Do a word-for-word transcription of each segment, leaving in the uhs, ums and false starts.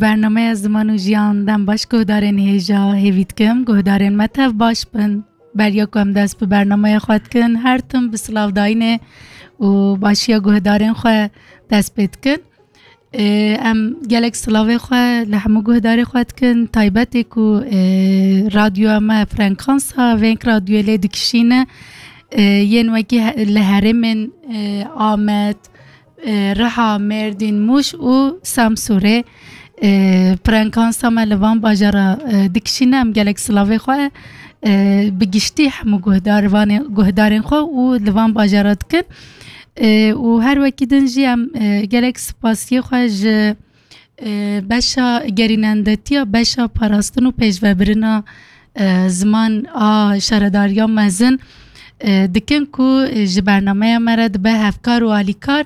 Bernameya Ziman û Jiyan dem baş guhdarên hêja hêvî dikim. Guhdarên me tev baş bin. Beriya ku em dest bi bernameya xwe dikin, her tim bi silavdayînê û başiya guhdarên xwe dest pê dikin. Ê, em gelek silavê xwe li hemû guhdarê xwe dikin. Taybetê ku, ê, radyoya me frekansa Veng Radyoyê lê dikişîne. Ê, yên wekî he-, li herêmên, ê, Amed, e, Riha, Mêrdîn, Mûş û Samsûrê, e, frekansa me li van bajara, e, dikişîne. Em gelek silavê xwe, e, bi giştî hemû guhdarvanê-, guhdarên xwe û li van bajara dikin. E, û her wekî din jî em, e, gelek spasiyê xwe ji, e, beşa gerînendetiya, beşa parastin û pêşvebirina, e, ziman a şaredariya mezin, e, dikin ku, e, ji bernameya me re dibe hevkar û alîkar.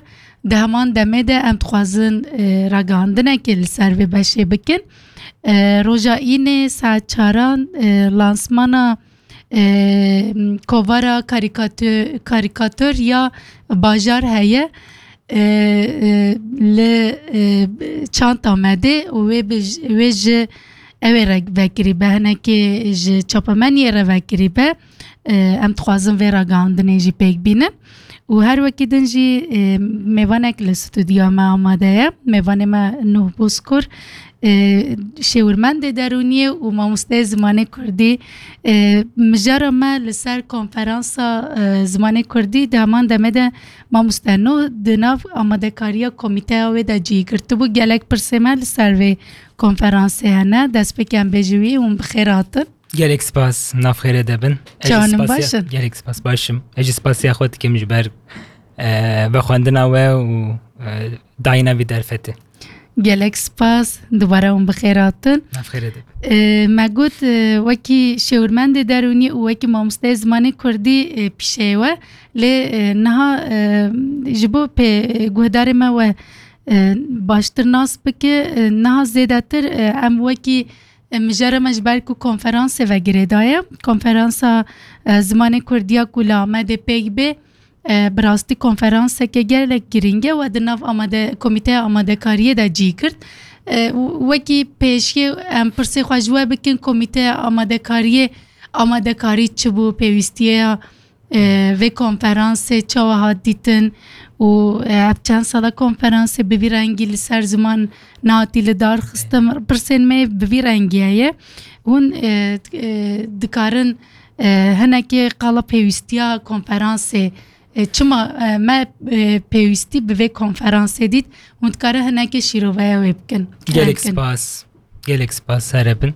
Di heman demê de em dixwazin, e, ragihandinekê li ser vê beşê bikin. E, roja Înê saet çaran, e, lansmana, e, kovara karîkatö-, karîkatör ya bajar heye. E, e, li, e, çanta me de û wê bi j-, wê ji ew ê re vekirî be, hinekê ji çapemeniyê re vekirî be. E, em dixwazin vê ragihandinê jî pêk bînin. Û her wekî din jî, e, mêvanek li stûdyoya me amade ye. Mêvanê me Nuh Bozkur, e, şêwirmendê derûniyê û mamosteyê zimanê kurdî. E, mijara me li ser konferansa, e, zimanê kurdî di heman demê de mamoste Nuh di nav amadekariya komîteya wê de cî girtibû. Gelek pirsê me li ser vê konferansê hene. Destpêkê em bêjin wî hûn bi xêr hatin. Gelek spas, nav xêrê de bin. Ez jî Canim spasiya-, baş in. Gelek spas, baş im. Ez jî spasiya xwe dikim ji ber, e, vexwendina we û, e, dayîna vî derfetê. Gelek spas, dubare hûn bi xêr hatin. Nav xêrê de bin. E, me got, e, wekî şêwirmendê derûnî û wekî mamosteyê zimanê kurdî, e, pîşeyê we. Lê, e, niha, e, ji bo pê guhdarê me we, e, baştir nas bike, e, niha zêdetir, e, em wekî E, mijara me ji ber ku konferansê ve girêdaye. Konferansa, e, zimanê kurdî ya ku li Amedê pêk bê, e, bi rastî konferanseke gelek girîng e we di nav amade-, komîteya amadekariyê de cî girt. E, û wekî pêşiyê em pirsê xwe ji we bikin, komîteya amadekariyê amadekarî çi bû, pêwîstiyeya e, vê konferansê çawa hat dîtin û, e, ev çend sala konferansê bi vî rengî li ser ziman nehatî li dar xistin? Pirsên me bi vî rengî heye. Hûn, e, e, dikarin, e, hinekê qala pêwîstiya konferansê, e, çima, e, me, e, pêwîstî bi vê konferansê dît? Hûn dikarin hinekê şîroveya wê bikin. Gelek spas. Gelek spas, here bin.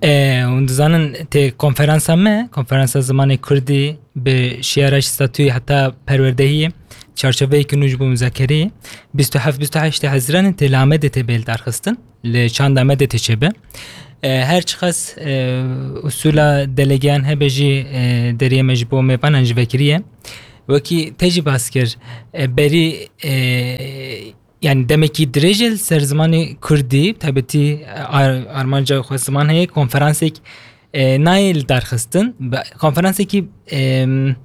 E, hûn dizanin tê konferansa me, konferansa zimanê kurdî bi şiyara ji statûyê heta perwerdehiyê, çarçoveyeke nû ji bo muzakereyê, bîst û heft bîst û heştê Hezîranê tê li Amedê tê bê lidarxistin, li Çand Amedê tê çêbe. E, her çiqas, e, usûla delegeyan hebe jî, e, deriyê me ji bo mêvanan jî vekiriye. Wekî te jî bas kir, e, berî, e, yani demekî dirêj e li ser zimanê kurdî, taybetî, e, ar-, armanca xwe ziman heye, konferansek, e, nayê li dar xistin. Be-, konferansekî, em,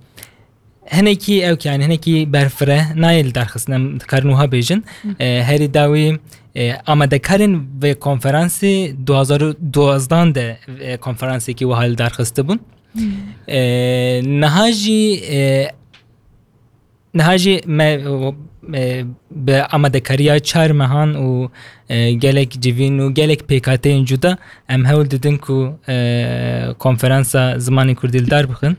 hinekî ewk, yani hinekî berfireh nayê li dar xistin. Em dikarin wiha bêjin. Hı. E, herî dawî, e, amadekarên vê konferansê du hazar û duwazdan de, e, konferansekî wiha li dar xistibûn. Hı. E, niha jî, e, Niha jî me, e, bi amadekariya çar mehan û, e, gelek civîn û gelek pêkhateyên cuda em hewl didin ku, e, konferansa zimanê kurdî li dar bixin.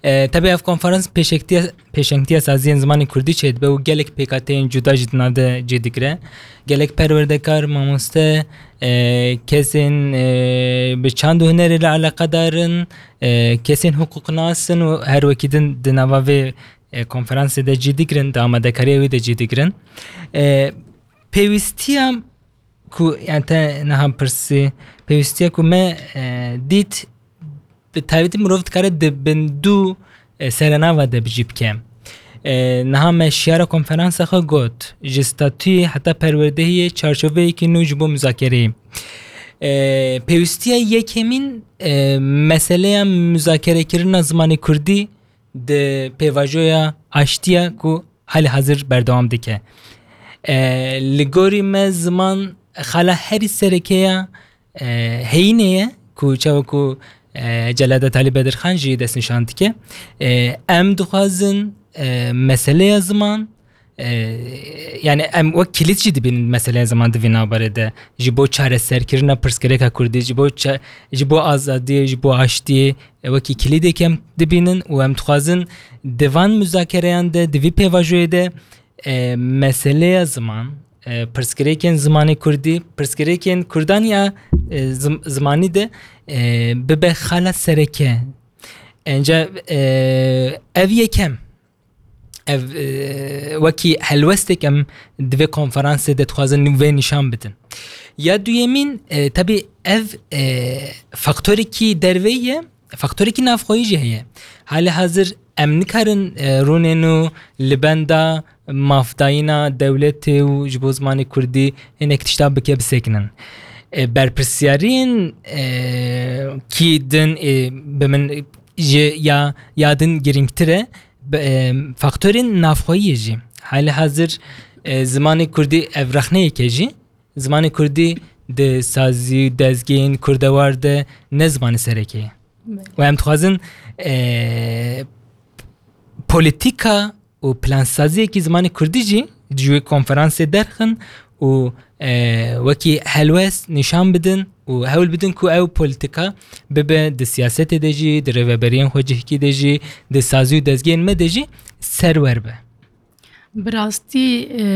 E, tebî ev konferans pêşengtiya, pêşengtiya saziyên zimanê kurdî çêdibe û gelek pêkhateyên cuda jî di nav de cî digire. Gelek perwerdekar, mamoste, e, kesên, e, bi çand û hunerê re eleqedar in, e, kesên hiqûqnas in û her wekî din di nava vê e, konferansê de cî digirin, di amadekariya wî de cî digirin. E, pêwîstiya ku, yani te niha pirsî, pêwîstiya ku me, e, dît, bi taybetî mirov dikare di bin du, e, serenava de bi cî bike. E, niha me şiyara konferansa xwe got, ji statûyê heta perwerdehiyê çarçoveyekî nû ji bo muzakereyê. E, pêwîstiya yekemîn, e, meseleya muzakerekirina zimanê kurdî di pêvajoya aştiya ku hali hazir berdewam dike. E, li gorî me ziman xala herî sereke ya, e, heyînê ye ku çawa ku, e, Celada Talî Bedirxan jî destnîşan dike. E, em dixwazin, e, meseleya ziman, e, yani em wek kilît jî dibînin meseleya ziman di vî navberê de. Ji bo çareserkirina pirsgirêka kurdî, ji bo ça-, ji bo azadiyê, ji bo aştiyê, e, wekî kilîdek em dibînin û em dixwazin di van muzakereyan de, di vî pêvajoyê de, e, meseleya ziman, e, pirsgirêkên zimanê kurdî, pirsgirêkên kurdan ya, e, zim-, zimanî de, e, bibe xala sereke. Enca, e, ev yekem, ev, e, wekî helwestek em di vê konferansê de dixwazin vê nîşan bidin. Ya duyemîn, e, tabii ev, e, faktorekî derveyî ye, faktorekî navxweyî jî heye. Halê hazir em nikarin, e, rûnên û li benda mafdayîna dewletê û ji bo zimanê kurdî hinek tişta bike bisekinin. E, berpirsiyariyên, e, kî din, e, bi min ji ya, ya din girîngtir e, bi, e, faktorên navxweyî ye jî. Halê hazir, e, zimanê kurdî ev rexneyeke jî, zimanê kurdî di sazî û dezgehên kurdewar de ne zimanê sereke ye. Belê. Û em dixwazin, e, polîtîka û plansaziyekî zimanê kurdî jî ji wê konferansê derxin û, e, wekî helwest nîşan bidin û hewl bidin ku ew polîtîka bibe di siyasetê de jî, di rêveberiyên xwecihkî de jî, di sazî û dezgehên me de jî serwer be. Bi rastî, e,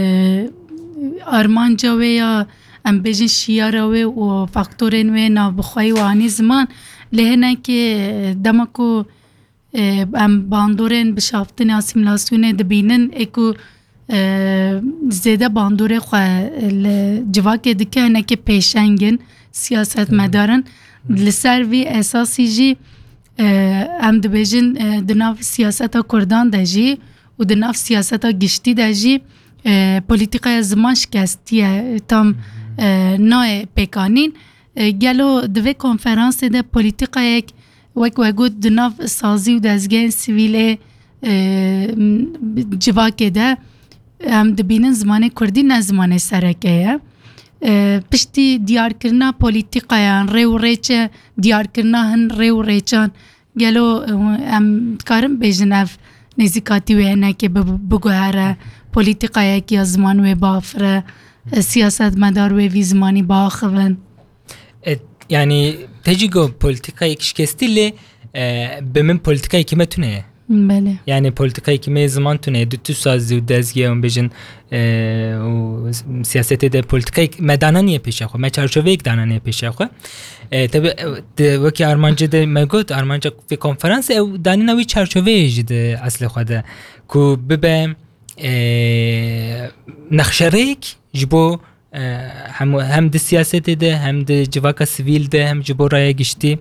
armanca wê ya, em bêjin şiyara wê û faktorên wê navbixweyî û anî ziman, lê hinekî, e, dema ku, e, em bandorên bişaftinê, asîmîlasyonê dibînin, ê ku, e, zêde bandorê xwe li civakê dike, hinekî pêşeng in, siyasetmedar in. Li ser vî esasî jî, e, em dibêjin, e, di nav siyaseta kurdan de jî û di nav siyaseta giştî de jî, e, polîtîkaya ziman şikestiye, tam, e, nayê pêkanîn. E, gelo di vê konferansê de polîtîkayek wek we got di nav sazî û dezgehên sivîlê, e, m-, civakê de em dibînin zimanê kurdî ne zimanê sereke ye. E, piştî diyarkirina polîtîkayan, rê û rêçe, diyarkirina hin rê û rêçan, gelo, e, em dikarin bêjin ev nêzîkatî wê hinekê bi-, biguhere, polîtîkayek ya ziman wê biafire, e, siyasetmedar wê vî zimanî biaxivin? E, yani, te jî got polîtîkayek şikestî lê, e, bi min polîtîkayekî me tune ye. Belê. Yani polîtîkayekî me ziman tune ye. Du tu sazî û dezgeh em bêjin, e, û siyasetê de polîtîkayek me dananiye pêşiya xwe. Me çarçoveyek dananiye pêşiya xwe. E, tabi, e, de, wekî armancê de me got, armanca vê konferansê ew danîna wî çarçoveyê jî di eslê xwe de. Ku bibe, e, nexşerêk ji bo, e, hem, hem di siyasetê de, hem di civaka sivîl de, hem ji bo raya giştî.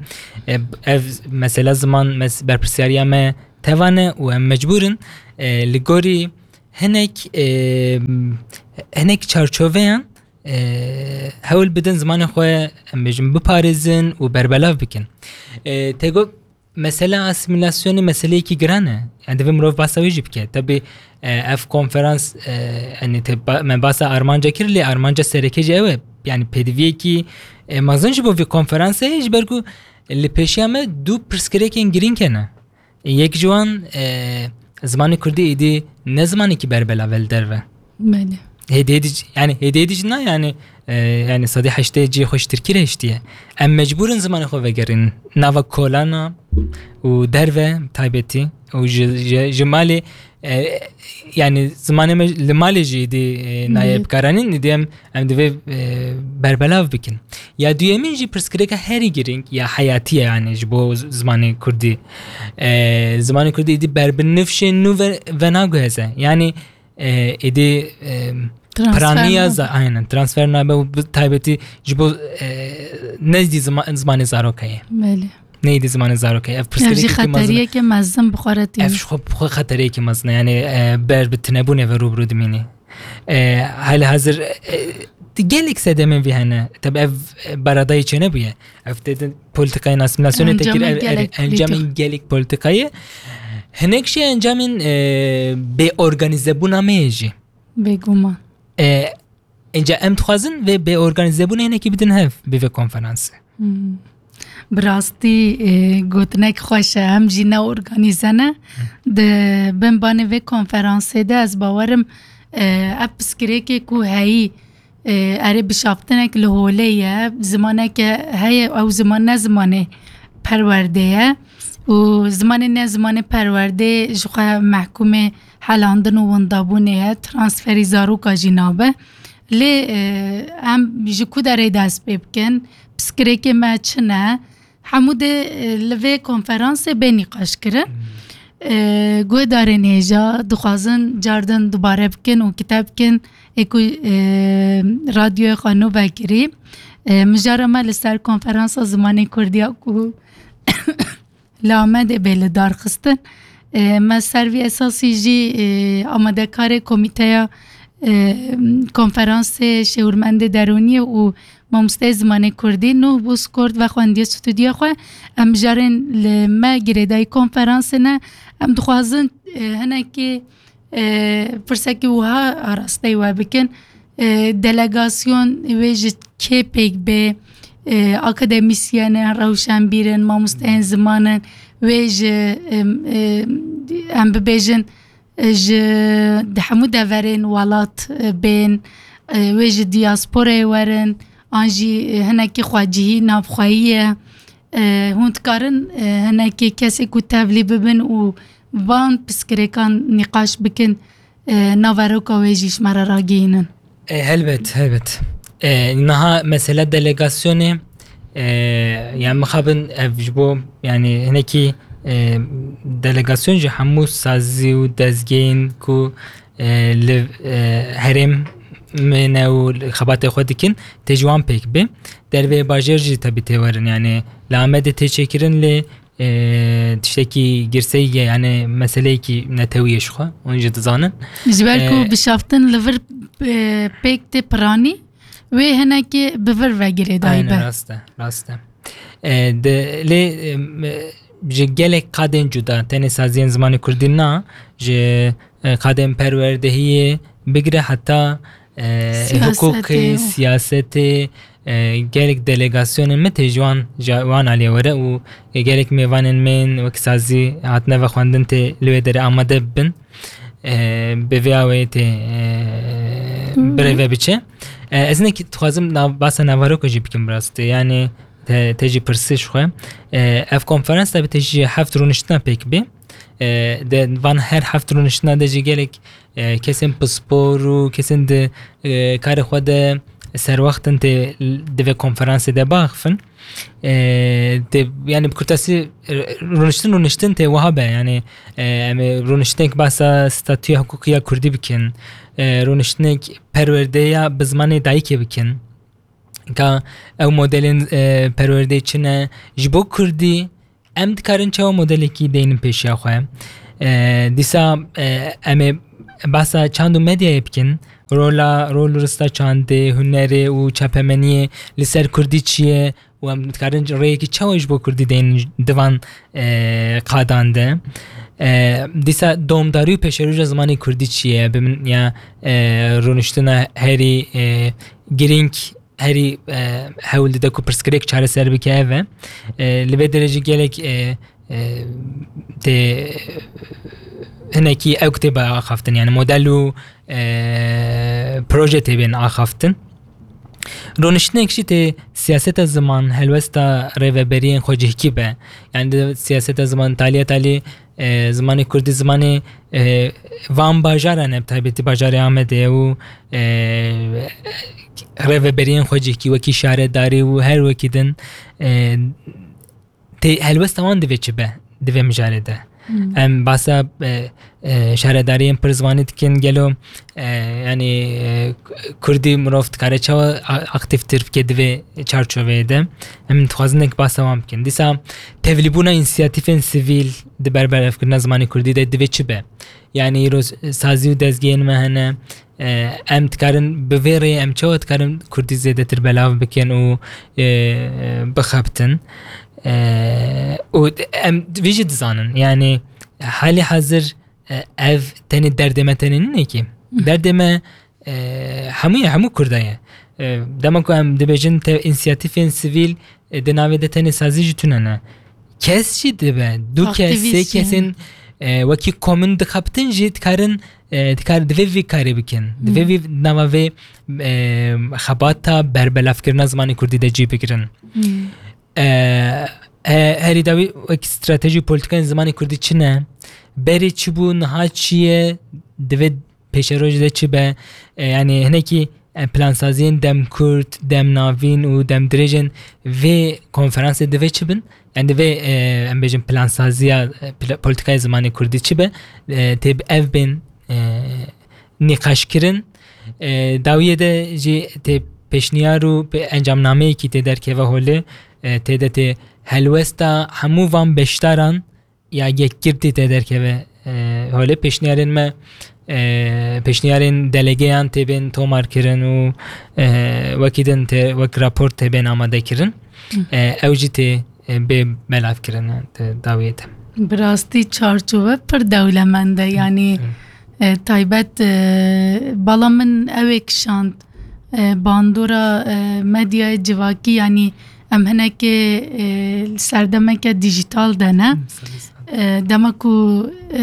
E, ev mesela ziman mes-, berpirsiyariya me teva ne û em mecbûr in, e, li gorî hinek, e, hinek çarçoveyan, e, hewl bidin zimanê xwe, em bêjin, biparêzin û berbelav bikin. E, te got, mesela asîmîlasyonê meseleyekî giran e. Yani divê mirov basa wê jî bike. Tabi, e, ev konferans, e, yani te ba-, me basa armanca kir, lê armanca sereke jî ew e. Yani pêdiviyekî, e, mezin ji bo vî konferansê heye, ji ber ku li pêşiya me du pirsgirêkên girîng hene. Yek ji wan, e, zimanê kurdî êdî ne zimanekî berbelav e li derve. Belê. Hêdî hêdî jî, yani hêdî hêdî jî na, yani, e, yani sedî heştê cihê xwe ji tirkî re hiştiye. Em mecbûr in zimanê xwe vegerînin nava kolana û derve taybetî û ji, ji, ji malê, e, yani zimanê me li malê jî êdî, e, nayê bikaranîn, êdî em, em divê, e, berbelav bikin. Ya duyemîn jî pirsgirêka herî girîng ya heyatî ye, yani ji bo z-, zimanê kurdî. E, zimanê kurdî êdî ber bi nifşên nû ve-, venaguheze. Yani, e, êdî, e, piraniya za-, aynen, transfer nabe û bi taybetî ji bo, e, ne êdî zima-, zimanê zaroka ye. Belê. Ne êdî zimanê zaroka ye. Ev pirsgirêkeke mezin e. Ev jî xeteriyeke mezin bi xwe re tîne. Ev ji xwe, bi xwe xeteriyeke mezin e. Yani, e, ber bi tinebûnê ve rû bi rû dimînî. E, hali hazir, e, gelek sedemên vî hene. Tabi ev, e, beradayî çênebûye. Ev tê din polîtîkayên asîmîlasyonê tê kir, ev, ev, encamên gelek polîtîkayê. Hinek jî encamên, e, bê organîzebûna me ye jî. Bêguman. E, Înca em dixwazin vê bê organîzebûnê hinekî bidin hev bi vê konferansê. Bi rastî e, gotinek xweş e. Em jî ne organîze ne. Di bin banê vê konferansê de ez bawerim e, ev piskirêkê ku heyî e, erê bişaftinek li holê ye, zimaneke heye, ew ziman ne zimanê perwerdê ye û zimanê ne zimanê perwerdê ji xwe mehkûmê helandin û windabûnê ye, transferî zaroka jî nabe. Lê e, em ji ku derê dest pê bikin, piskirêkê me çi ne? Hemû dê e, li vê konferansê bê nîqaş kirin. E, guhdarên hêja dixwazin cardin dubare bikin û kite bikin ê ku e, radyoyê xwe nû vekirî. E, mijara me li ser konferansa zimanê Kurdiya ku li Amedê bê li dar xistin. E, me ser vî esasî jî e, amadekarê komîteya e, konferansê şêwirmendê derûniyê û mamosteyê zimanê kurdî Nuh Bozkurt vexwendiye stûdyoya xwe. Em mijarên li me girêdayî konferansê ne. Em dixwazin e, hinekî e, pirsekî wiha arasteyî we bikin. E, delegasyon wê ji kê pêk bê? E, akademîsyen in, rewşenbîr in, mamosteyên ziman in, wê ji em, e, em bibêjin e, ji di hemû deverên welat e, bên, e, wê ji diyasporayê werin, an jî e, hinekî xwecihî navxweyî ye. E, hûn dikarin e, hinekî kesê ku tevlî bibin û van piskirêkan nîqaş bikin, e, naveroka wê jî ji me re ragihînin. E, helbet, helbet. E, niha mesela delegasyonê, e, yani mixabin ev ji bo yani hinekî e, delegasyon ji hemû sazî û dezgehên ku e, li e, herêm me ne û li xebatê xwe dikin tê ji wan pêk bê. Dervê bajêr jî tebî tê werin yani li Amedê tê çêkirin lê e, tiştekî girseyî ye, yani meseleyekî netewî ye ji xwe, hûn jî dizanin. Ji ber ku e, bişaftin li vir e, pêk tê piranî, wê hinekî bi vir ve girêdayî be. Rast e, rast e. E, de, lê e, ji gelek qadên cuda, tenê saziyên zimanê kurdî na, ji e, qadên perwerdehiyê bigire heta e, hiqûqê, siyasetê, e, gelek delegasyonên me tê ji wan, ji wan aliyê were û e, gelek mêvanên me yên wek sazî hatine vexwendin tê li wê derê amade bibin. E, bi vê awê tê e, birêve biçe. E, ez hinek dixwazim nav, basa naveroka jî bikim bi rastî. Yani te, te jî pirsî ji xwe. E, ev konferans tabi te jî heft rûniştina pêk bê. E, de van her heft rûniştina de jî gelek e, kesên pispor û kesên di e, karê xwe de serwext in tê di vê konferansê de biaxifin. E, tê, yani bi kurtasî e, rûniştin rûniştin tê wiha be. Yani e, em ê rûniştinek behsa statûya hiqûqî ya kurdî bikin. E, rûniştinek perwerdeya bi zimanê dayikê bikin. Ka ew modelên e, perwerdeyê çi ne? Ji bo kurdî em dikarin çawa modelekî deynin pêşiya xwe? E, dîsa e, em ê behsa çand û medyayê bikin. Rola, rol û rista çandê, hunerê û çapemeniyê li ser kurdî çi ye? Û em dikarin rêyekî çawa ji bo kurdî deynin di van e, qadan de? E, dîsa domdarî û pêşerûja zimanê kurdî çi ye? Bi min ya e, rûniştina herî e, girîng herî e, hewl dide ku pirsgirêk çareser bike ev e. E, li vê derê jî gelek e, e, tê hinekî ew tê axaftin, yani model û e, proje tê bên axaftin. Rûniştinek jî tê siyaseta ziman, helwesta rêveberiyên xwecihkî be. Yani di siyaseta ziman taliya talî e, zimanê kurdî zimanê e, van bajaran e, bi taybetî bajarê Amedê û e, rêveberiyên xwecihkî wekî şaredarî û her wekî din e, tê helwesta wan divê çi be di vê mijarê de. Em basa e, e, şaredariyên pir zimanî dikin, gelo e, yani e, kurdî mirov dikare çawa a- aktîftir bike di vê çarçoveyê de. Em dixwazin nek basa wan bikin. Dîsa tevlîbûna însiyatîfên sivîl di berberevkirina zimanê kurdî de divê çi be? Yani îro sazî û dezgehên me hene. E, em dikarin bi vê rêyê em çawa dikarin kurdî zêdetir belav bikin û e, bixebtin? E, û em vî jî dizanin. Yani halî hazir e, ev tenê derdê me tenê nîne ki. Derdê me e, hemû ye, hemû Kurda ye. E, dema ku em dibêjin te-, însiyatîfên sivîl, e, di navê de tenê sazî jî tune ne. Kes jî dibe, du kes, sê kesên, e, wekî komûn dixebitin jî dikarin, e, dikar-, divê vî karê bikin. Divê vî nava vê, e, xebata berbelavkirina zimanê kurdî de cî bigirin. E, he-, herî dawî wek stratejî û polîtîkayên zimanê kurdî çi ne? Berê çi bû, niha çi ye? Divê pêşerojê de çi be? E, yanî hinekî, e, plansaziyên dem kurt, dem navîn û dem dirêjên vê konferansê divê çi bin? Yanî divê, e, em bêjin plansaziya, e, pla-, polîtîkayê zimanê kurdî çi be? E, tê bi ev bên, e, nîqaşkirin. E, dawiyê de jî tê pêşniyar û pê-, encamnameyekî tê derkeve holê, e, tê de tê helwesta hemû van beşdaran ya yekgirtî tê derkeve, e, holê. Pêşniyarên me, e, pêşniyarên delegeyan tê bên tomar kirin û, e, wekî din tê wek rapor tê bên amade kirin. E, ew jî tê, e, bê belavkirin, e, di dawiyê de. Bi rastî çarçove pir dewlemend e, yanî, e, taybet, e, bala min ew ê kişand, e, bandora, e, medyayê civakî, yanî em hinekê, e, li serdemeke dîjîtal de ne. E, dema ku, e,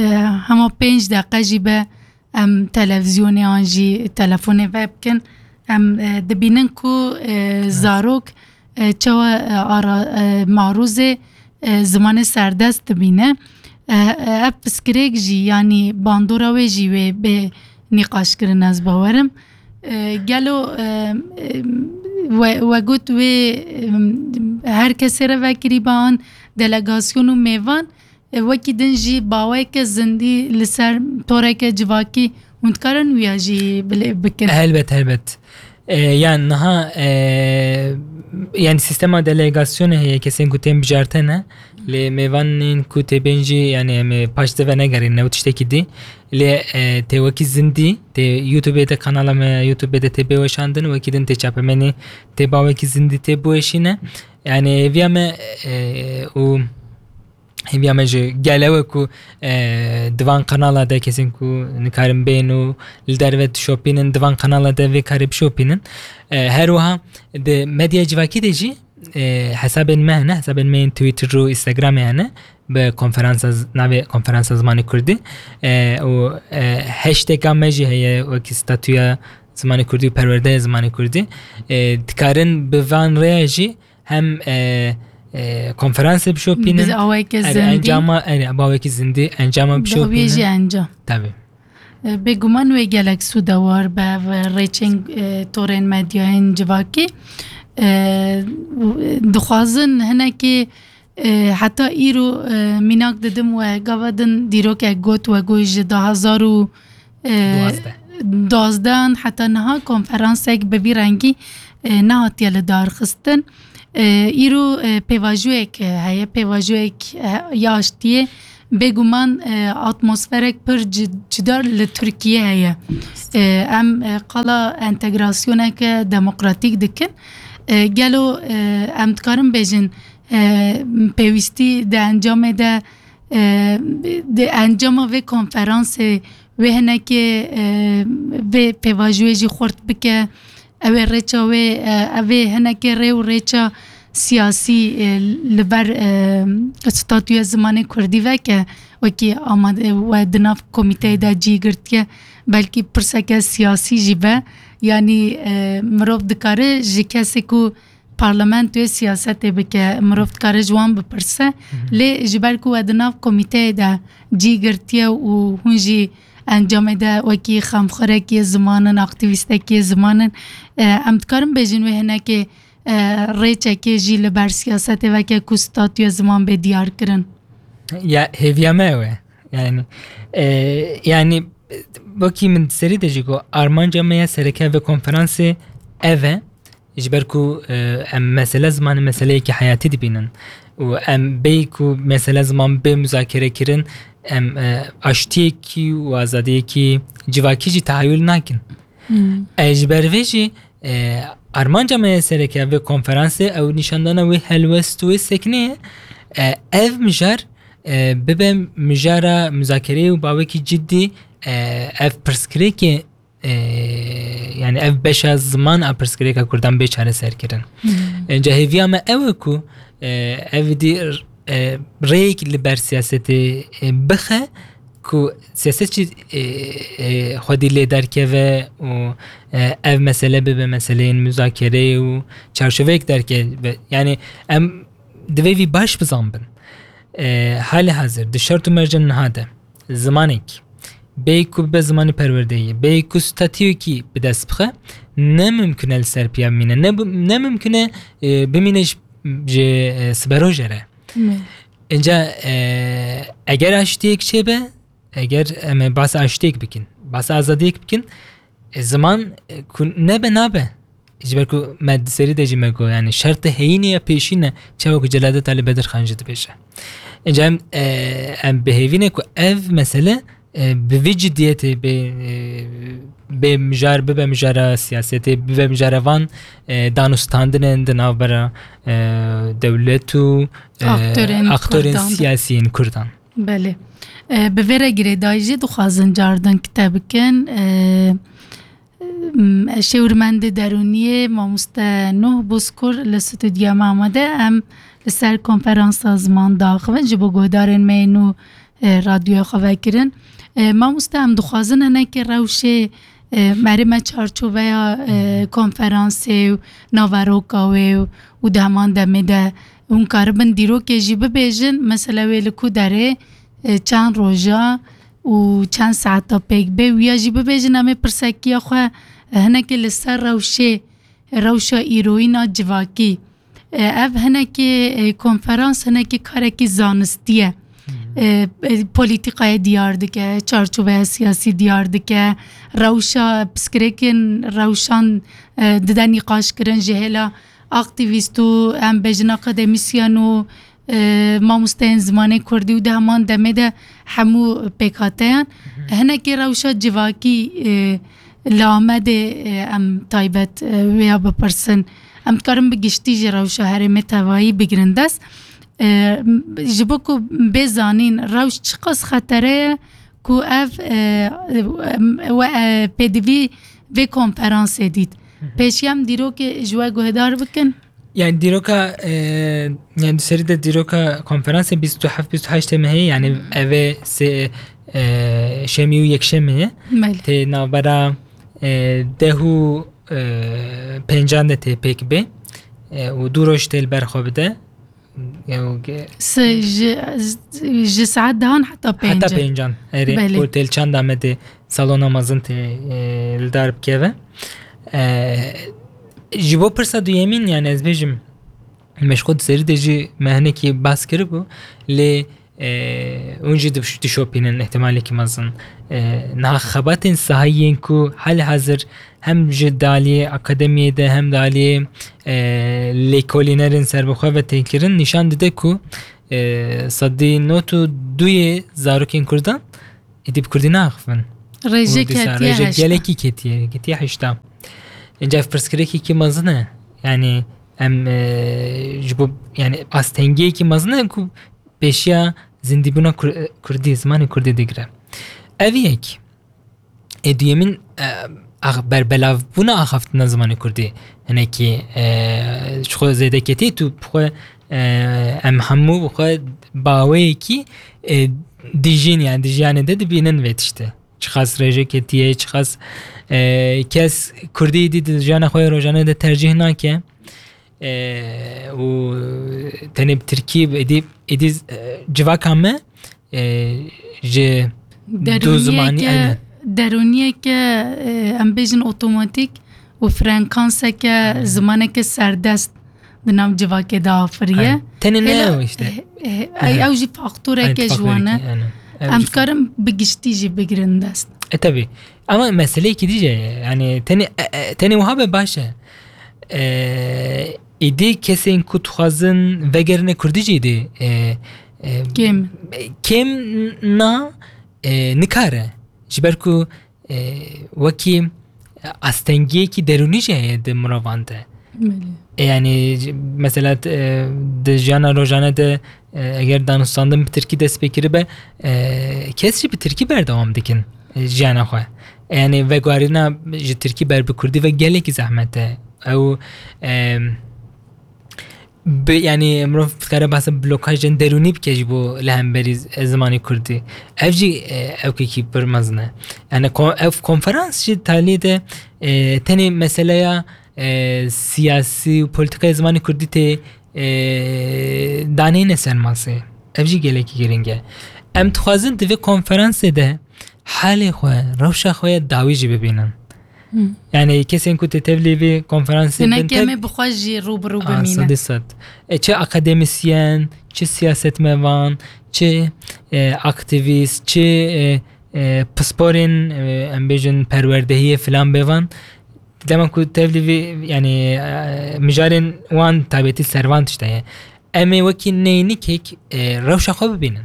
hema pênc deqe jî be, em televîzyonê an jî telefonê vebikin, em, e, dibînin ku, e, zarok, e, çawa, e, ara, e, marûzê, e, zimanê serdest dibîne. E, e, ev piskirêk jî, yanî bandora wê jî wê bê nîqaşkirin, ez bawerim. E, gelo, e, e, we, we got wê, e, her kesê re vekirî be an delegasyon û mêvan, e, wekî din jî baweke zindî li ser toreke civakî hûn dikarin wiya jî bilê bikin? Helbet, helbet. E, yan niha, e, yani sîstema delegasyonê heye, kesên ku tên bijarte ne, lê mêvanên ku tê bên jî, yani em ê paş de venegerîn, ne û tiştekî dî. Lê, e, tê wekî zindî, tê YouTubeê de, kanala me YouTubeê de tê bê weşandin, wekî din tê çapemenî, tê bawekî zindî tê biweşîne. Yani hêviya me, e, û hêviya me ji gel ew e ku, e, di van kanala de kesên ku nikarin bên û li derve dişopînin, di van kanala de vê karê bişopînin. E, her wiha di medya civakî de jî, e, hesabên me hene, hesabên me yên Twitter û Instagramê hene, bi konferansa z-, navê Konferansa Zimanê Kurdî. E, û, e, hashtagga me jî heye wekî statûya zimanê kurdî û perwerdeya zimanê kurdî. E, dikarin bi van rêya jî hem, e, e, konferansê bişopînin. Bi awayeke zindî. Encama, e, bi awayeke zindî, encama bişopînin. Bi awayê jî encam. Tabii. E, bêguman wê gelek sûdewar be ve rêçên, e, torên medyayên civakî. E, dixwazin hinekî, e, heta îro, e, mînak didim we gava din dîrokek got, we got ji du hazar û, e, duwazdeh, duwazdeh heta niha konferansek bi vî rengî, e, nehatiye li dar xistin. E, îro, e, pêvajoyek, e, heye, pêvajoyek, e, ya aştiyê. Bêguman, e, atmosferek pir ci-, cida li Tirkiye heye. E, em, e, qala entegrasyoneke demokratîk dikin. E, gelo, e, em dikarin bêjin, e, pêwîstî di encamê de, e, di encama vê konferansê wê hinekê, e, vê pêvajoyê jî xurt bike, ew ê rêça wê, e, ev ê hinekê rê û rêça siyasî, e, li ber, e, statûya zimanê kurdî veke, wekî amade, we di nav komîteyê de cî girtiye, belkî pirseke siyasî jî be. Yanî, e, mirov dikare ji kesê ku parlamentoyê siyasetê bike, mirov dikare ji wan bipirse. Lê ji ber ku we di nav komîteyê de cî girtiye û hûn jî encamê de wekî xemxwerekî ziman in, aktîvîstekî ziman in, e, em dikarin bêjin wê hinekê, e, rêçekê jî li ber siyasetê veke ku statûya ziman bê diyar kirin? Ya, hêviya me ew e. Yani, e, yani, wekî min serî de jî got, armanca me ya sereke vê konferansê ev e. Ji ber ku, e, em mesele zimanê meseleyekî heyatî dibînin û em bêyî ku mesele ziman bê muzakere kirin, em, e, aştiyekî û azadiyekî civakî jî tehayul nakin. E, ji ber vê jî, e, armanca me ya sereke vê konferansê ew nîşandana wê helwest û wê seknê ye. E, ev mijar, e, bibe mijara muzakereyê û bawekî ciddî, e, ev pirsgirêkê e, yani ev beşa ziman a pirsgirêka Kurdan bê çareserkirin. Înca hêviya me ew e ku, e, ev dî, e, rêyek li ber siyasetê, e, bixe ku siyaset jî, e, e, xwedî lê derkeve û, e, ev mesele bibe meseleyên muzakereyê û çarçoveyek derkeve. Yani em divê vî baş bizanbin. E, hali hazir di şert û mercên niha de zimanek bê ku bibe zimanê perwerdeyê, bê ku statuyekî bi dest bixe, ne mimkun e li ser piya bimîne, ne bi-, ne mimkun e, e, bimîne ji, ji, e, siberoje re. Înca, e, eger aştiyek çêbe, eger em ê behsa aştiyek bikin, behsa azadiyek bikin, e, ziman, e, ku nebe nabe. Ji ber ku me di serî de jî me got, yani şertê heyînê ya pêşîn e, çawa ku Celadet Ali Bedirxan jî dibêje. Înca em, e, em bi hêvî ne ku ev mesele, e, bi vî cidiyetê bê, e, bê mijar, bibe mijara siyasetê, bibe mijara van, e, danûstandinên di navbera, e, dewlet û, e, Aktorên aktorên Kurdan de. Siyasî yên Kurdan. Belê. E, bi vê re girêdayî jî dixwazin cardin kite bikin. E, m, şêwirmendê derûniyê mamoste Nuh Bozkur li stûdyoya me amade. Em li ser konferansa ziman diaxivin ji bo guhdarên me yên nû, e, radyoya xwe vekirin. E, mamoste, em dixwazin hinekî rewşê, e, merê me çarçoveya, e, konferansê û naveroka wê û, û di heman demê de hûn karibin dîrokê jî bibêjin, mesela wê li ku derê, e, çend roja û çend saeta pêk bê, wiya jî bibêjin, em ê pirsekiya xwe, e, hinekê li ser rewşê, rewşa îroyîn a civakî. E, ev hinekî, e, konferans hinekî karekî zanistî ye. E, e, polîtîkayê diyar dike, çarçoveya siyasî diyar dike, rewşa pirsgirêkên rewşan, e, dide nîqaşkirin ji hêla aktîvîst û em bêjin akademîsyen û, e, mamosteyên zimanê kurdî û di heman demê de hemû pêkhateyan. Hinekî rewşa civakî, e, li Amedê, e, em taybet, e, wêya bipirsin. Em dikarin bi giştî jî rewşa herêmê tevayî bigirin dest. E, m-, ji bo ku bê zanîn rewş çiqas xetere ye ku ev, e, em, we, e, pêdivî vê konferansê dît. Pêşî em dîrokê ji we guhdar bikin. Yani dîroka, e, yani di serî de dîroka konferansê bîst û heft bîst û heşt teme heye, yani evê sê, e, şemî û yekşemê ye. Belê. Tê navbera, e, deh û, e, pêncan de tê pêk bê. E, û du roj tê li ber xwe bide. Ew ge- Se-, ji, ji saet dehan heta Heta pêncan. Pêncan. Erê, Belê. Otel çanda me tê salona mezin tê, e, li dar bikeve. E, ji bo pirsa duyemîn, yani ez bêjim, me ji xwe di serî de jî me hinekî bas kiribû, lê, e, hûn jî diş-, dişopînin ihtimalekî mezin. E, niha xebatên sahayî yên ku hali hazir hem ji daliyê akademiyê de hem daliyê, e, lêkolînerên serbixwe ve tên kirin, nîşan dide ku, e, sedî nod û duyê zarokên Kurdan êdî bi Kurdî naxivin. Rêje Û dîsa ketiye rêje heyşta. Gelekî ketiye, ketiye heyşta. Înca ev pirsgirêkekî mezin e. Yani em, e, ji bo, yani astengiyekî mezin e ku pêşiya zindîbûna Kur-, Kurdî, zimanê Kurdî digire. Ev yek. Ê duyemîn, e, ax-, berbelavbûna axaftina zimanê Kurdî hinekî, e, ji xwe zêde ketî, tu bi xwe, e, em hemû bi xwe baweyekî, e, dijîn, yani di jiyanê de dibînin vê tiştê. Çiqas rêje ketiye, çiqas, e, kes Kurdî dî di jiyana xwe yê rojane de tercîh nake. E, û tenê bi tirkî, êdî, êdî, e, civaka me, e, ji Derûniyeke, du zimanî, aynen. Derûniyeke, e, em bêjin otomatîk û frekanseke, Aynen. zimaneke serdest di nav civakê de afiriye. Aynen. Tenê ne Hêla, ew işte. e, e, Ehe. ew jî faktoreke Aynen, ji wan e. faktoreke, aynen. Ew Em jî dikarin bi giştî jî bigirin dest. E, tabii. Ama meseleyekî dî jî ye. Yani tenê, e, e, tenê wiha be baş e. E, êdî kesên ku dixwazin vegerine Kurdî jî êdî, e, e, Kêm. kêm na, e, nikare. Ji ber ku, e, wekî astengiyekî derûnî jî heye di mirovan de. Belê. E, yani, mesela, e, di jiyana rojane de, e, eger danûstandin bi tirkî dest pê kiribe, e, kes jî bi tirkî berdewam dikin, e, jiyana xwe. Yani veguherîna ji tirkî ber bi kurdî ve gelekî zehmet e. Ew, em, bi, yani mirov dikare behsa blokajên derûnî bike ji bo li hemberî z-, zimanê kurdî. Ev jî, e, ewkekî pir mezin e. Yani ko-, ev konferans jî taliyê de, e, tenê meseleya, e, siyasî û polîtîkaya zimanê kurdî tê, e, daneyne ser masê. Ev jî gelekî girîng e. Em dixwazin di vê konferansê de halê xwe, rewşa xwe ya dawî jî bibînin. Hmm. Yani kesên ku tê tevlî vê konferansê bin Hinek tev- em ê bi xwe jî rû bi rû Ah, bimîne. Sedî sed. E, çi akademîsyen, çi siyasetmevan, çi, e, aktivîst, çi, e, e, pisporên, e, em bêjin perwerdehiyê filan bêvan. Dema ku tevlî vê, yani, e, mijarên wan taybetî ser van tişte ye. Em ê wekî neynikek, e, rewşa xwe bibînin.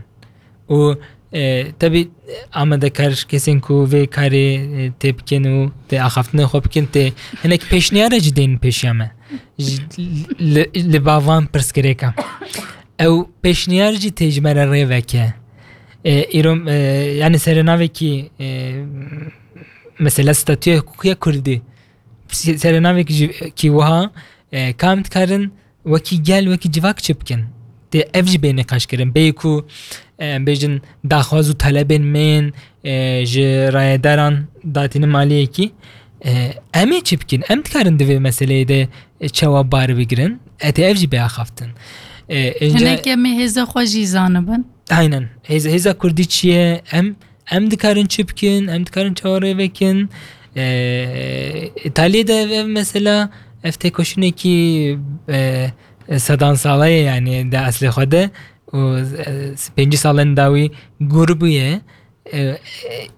Û, e, tebî amadekar kesên ku vê karê, e, tê bikin û tê axaftinê xwe bikin, tê hinek pêşniyara jî dên pêşiya me. Ji, li, li ba van pirsgirêka. Ew pêşniyar jî tê ji me re rê veke. E, îro, e, yani serê navekî, e, mesela statûya hukukî ya kurdî. Se-, serê navekî jî kî wiha, e, ka em dikarin wekî gel, wekî civak çi bikin? Tê ev jî bê nîqaşkirin. Bêyî ku, e, em bêjin daxwaz û talebên me yên, e, ji rayedaran datînin maliyekî, e, em ê çi bikin? Em dikarin di vê meseleyê de, e, çawa bar bigirin? E, tê ev jî bê axaftin. E, ince Hinek em ê hêza xwe jî zanibin. Aynen. Hêz-, hêza kurdî çi ye? Em, em dikarin çi bikin? Em dikarin çawa rê vekin? E, Îtalyê de ev, ev mesela, ev têkoşînekî, e, sedan sala ye, yani di eslê xwe de. Û, e, pêncî salên dawî gûr bûye. E, e,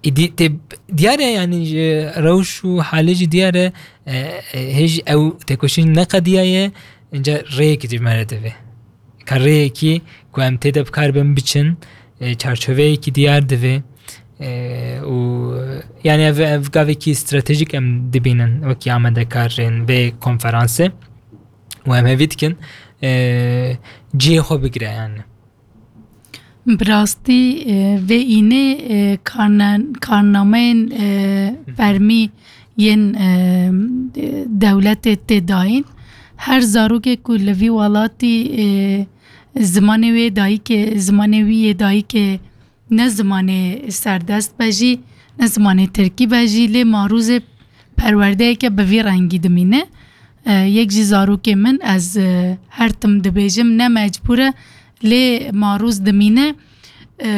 îdî tê diyar e, yani ji rewş û halê jî diyar e, e, e, hêj ew têkoşîn neqediyaye, inca rêyekî ji me re divê. Ka rêyekî ku em tê de bi kar bin biçin, e, çarçoveyekî diyar divê. E, û yani ev, ev gavekî stratejîk em dibînin wekî amadekarên vê konferansê. Û em hevî dikin, e, cihê xwe bigire yani. Bi rastî, e, vê înê, e, karne-, karnameyên, e, Hı hı. fermî yên, e, dewletê tê dayîn. Her zarokê ku li vî welatî, e, zimanê wê dayikê, zimanê wî yê dayikê ne zimanê serdest be jî, ne zimanê tirkî be jî, lê marûzê perwerdeyeke bi vî rengî dimîne. E, yek ji zarokê min, ez, e, her tim dibêjim, ne mecbûr e, lê marûz dimîne. E,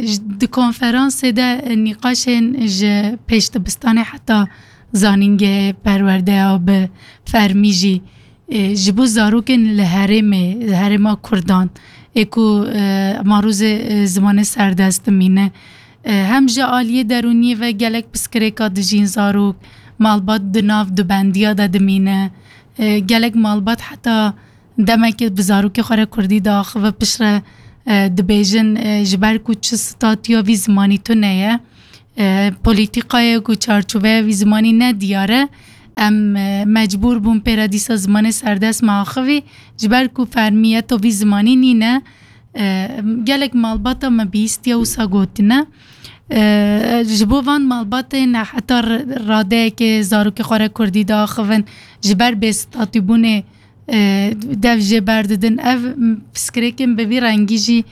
j-, di konferansê de nîqaşên ji pêş dibistanê heta zanîngehê perwerdeya bi fermî jî, e, ji bo zarokên li herêmê, li herêma Kurdan, ê ku, e, marûzê, e, zimanê serdest dimîne. E, hem ji aliyê derûniyê ve gelek pirsgirêka dijîn zarok, malbat di nav dubendiya de dimîne. E, gelek malbat heta demekê bi zarokê xwe re kurdî diaxive, piştre, e, dibêjin, e, ji ber ku çi statuya vî zimanî tune ye, e, polîtîkayê ku çarçoveya vî zimanî ne diyar e, em, e, mecbûr bûn pê re dîsa zimanê serdest me axivî, ji ber ku fermiyeta vî zimanî nîne. E, gelek malbata me bihîstiye wisa gotine. E, ji bo van malbatên heta r-, radeyekê zarokê xwe re kurdî diaxivin, ji ber bêstatîbûnê, e, dev jê berdidin. Ev pirsgirêkên bi vî rengî jî,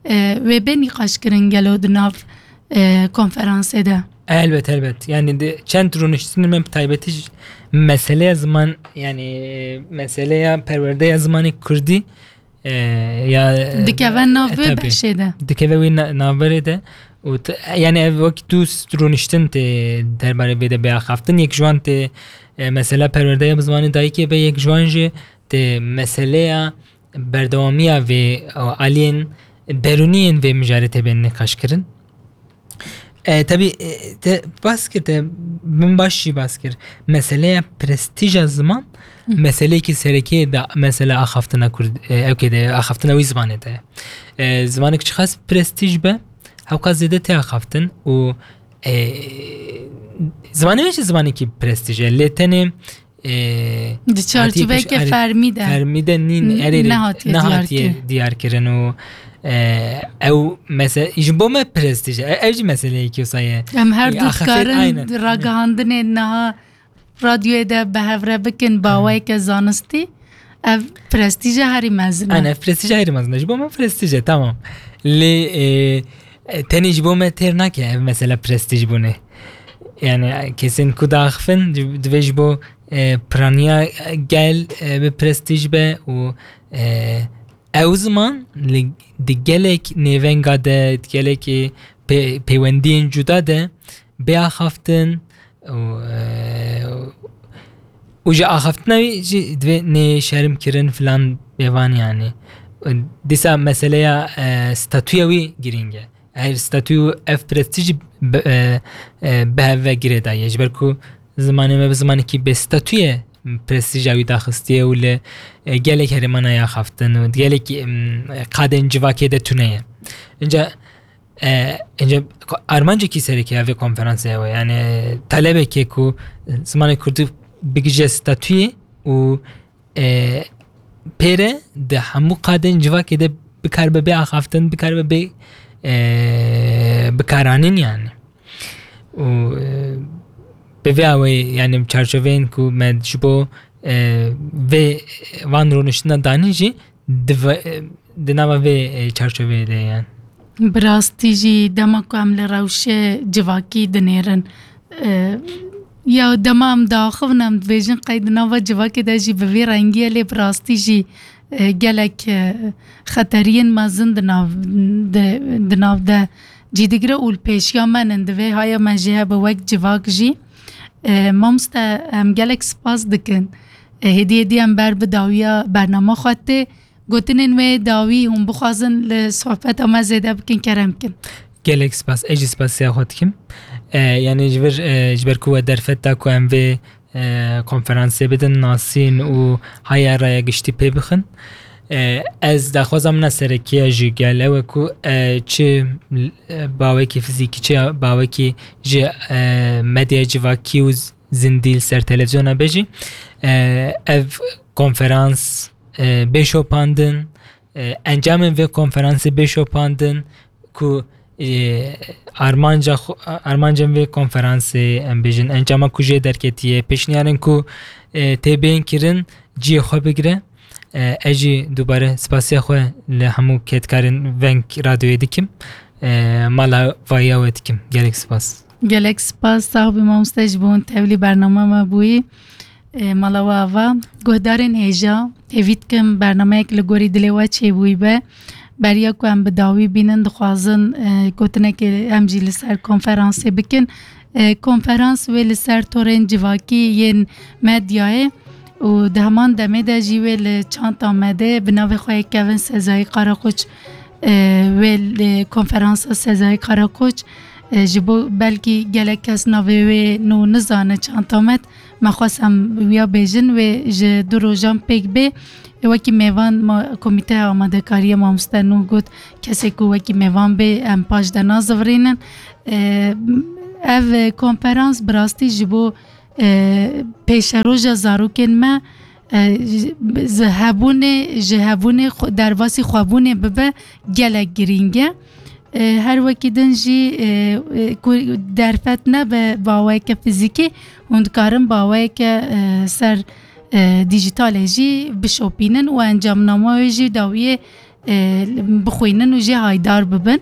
e, wê bê nîqaşkirin gelo di nav, e, konferansê de? Elbet, elbet. Yani di çend rûniştinên me bi taybetî ji meseleya ziman, yani meseleya perwerdeya zimanê kurdî, e, ya, Dikeve nav e, vê tabii. beşê de. Dikeve wê na-, navberê de. Û t-, yani ev wek du s-, rûniştin tê derbarê vê de bê axaftin. Yek ji wan tê, e, mesela perwerdeya bi zimanê dayikê be, yek ji wan jî tê meseleya berdewamiya vê, e, aliyên derûniyên vê mijarê tê bên nîqaşkirin. E, tabii, e, te bas kir, te min baş jî bas kir. Meseleya prestîja ziman, Hı. meseleyekî serekê de mesela axaftina kurd, e, ewkê de axaftina wî zimanê de. E, zimanek çiqas prestîj be, hewqas zêde tê axaftin û, e, zimanê me jî zimanekî prestîj e. Lê tenê, e, Di hatiye çarçoveyeke pêş-, erê, fermî de. fermî de nîn, N-, erê, nehatiye nehatiye diyar kirin. diyar kirin û, E, ew mese-, ji bo me prestîj e. Ev jî meseleyekî wisa ye. Em her du Axafê, dikarin aynen. Ragihandinê niha radyoyê de bi hev re bikin, baweyeke zanistî. Ev prestîja herî mezin e. Aynen, ev prestîja herî mezin e. Ji bo me prestîj e, tamam. Lê, e, e, tenê ji bo me têr nake ev mesela prestîj bûne. Yani, kesên ku diaxifin, di-, divê ji bo, e, piraniya gel, e, bi prestîj be û, e, ew ziman li, di gelek nêvenga de, di gelek, e, pê-, pêwendiyên cuda de bê axaftin û, e, û ji axaftina wî jî divê nê şerm kirin filan bêvan yani. Dîsa meseleya, e, statûya wî girîng e. Ev statû û ev prestîj bi, e, e, bi hev ve girêdaye. Ji ber ku zimanê me bi zimanekî bê statû ye, prestîja wî daxistiye û li, e, gelek herêmana ya xaftin û gelek, em, qadên civakê de tune ye. Înca, e, înca armancekî serekî ya vê konferansê ew e. Yani talebekê ku zimanê kurdî bigije statûyê û, e, pêre di hemû qadên civakê de bikaribe bê axaftin, bikaribe bê, e, bikaranîn yani. Û, e, bi vê awê, yani çarçoveyên ku me ji bo, e, vê van rûniştina danîn jî di ve-, e, di nava vê, e, çarçoveyê de ye yani. Bi rastî jî dema ku em li rewşê civakî dinêrin, e, ya dema em diaxivin, em dibêjin qey di nava civakê de jî bi vî rengî ye, lê bi rastî jî, e, gelek, e, xeteriyên mezin di nav, di, di nav de cî digire û li pêşiya me nin. Divê haya me jî hebe wek civak jî. E, mamoste, em gelek spas dikin. E, hêdî hêdî em ber bi dawiya bernama xwe tê. Gotinên wê dawî hûn bixwazin li sohbeta me zêde bikin, kerem kin. Gelek spas. Ez jî spasiya xwe dikim. E, yani ji vir, e, ji ber ku we derfet da ku em vê, e, konferansê bidin nasîn û haya raya giştî pê bixin. E, ez daxwaza min a serekî ya ji gel ew e ku, e, çi, e, bawekî fizîkî, çi bawekî ji, e, medyaya civakî û z-, zindî li ser televizyona be jî, e, ev konferans, e, bê şopandin, e, encamên vê konferansê bê şopandin ku, e, armanca xwe, armancên vê konferansê, em bêjin, encama ku jê derketiye, pêşniyarên ku, e, tê bên kirin, cihê xwe bigire. E, ez jî dubare spasiya xwe li hemû kedkarên Veng Radyoyê dikim. E, mala vayiya we dikim. Gelek spas. Gelek spas, sax bî mamoste, ji bo hûn tevlî bernama me bûyî. E, mala we ava. Guhdarên hêja, hêvî dikim bernameyek li gorî dilê we çêbûyî be. Beriya ku em bi dawî bînin, dixwazin, e, gotinekê em jî li ser konferansê bikin. E, konferans wê li ser torên civakî yên medyayê û di heman demê de jî wê li Çanta Medê bi navê xwe yê kevin Sezayî Karakoç, e, wê li konferansa Sezayî Karakoç, e, ji bo belkî gelek kes navê wê nû nizane, Çanta Med, me xwest em wiya bêjin, wê ji du rojan pêk bê. E, wekî mêvan ma-, Komîteya Amadekariya Mamoste Nûh got, kesê ku wekî mêvan bê, em paş de nazivirînin. E, ev konferans bi rastî ji bo, e, pêşeroja zarokên me, e, ji, ji hebûnê, ji hebûnê xwe, derbasî xwebûnê bibe, gelek girîng e. E, her wekî din jî, e, e, ku derfet nebe bi awayeke fizîkî, hûn dikarin bi awayeke, e, ser, e, dîjîtalê jî bişopînin û encamnama wê jî dawiyê, e, bixwînin û jê haydar bibin.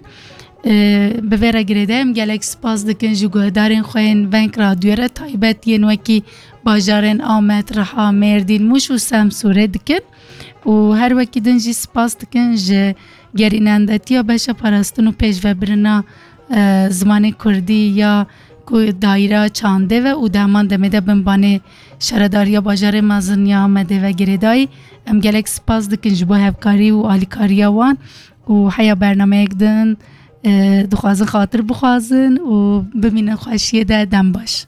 E, bi vê re girêdayî em gelek spas dikin ji guhdarên xwe yên Veng Radyoyê re, taybet yên wekî bajarên Amed, Riha, Mêrdîn, Mûş û Semsûrê dikin. Û her wekî din jî spas dikin ji gerînendetiya beşa parastin û pêşvebirina, e, zimanê kurdî ya ku dayîra çandê ve û di heman demê de bin banê şaredariya bajarê mezin ya Amedê ve girêdayî. Em gelek spas dikin ji bo hevkarî û alîkariya wan û heya bernameyek din, e, dixwazin xatir bixwazin û bimînin xweşiyê de, dem baş.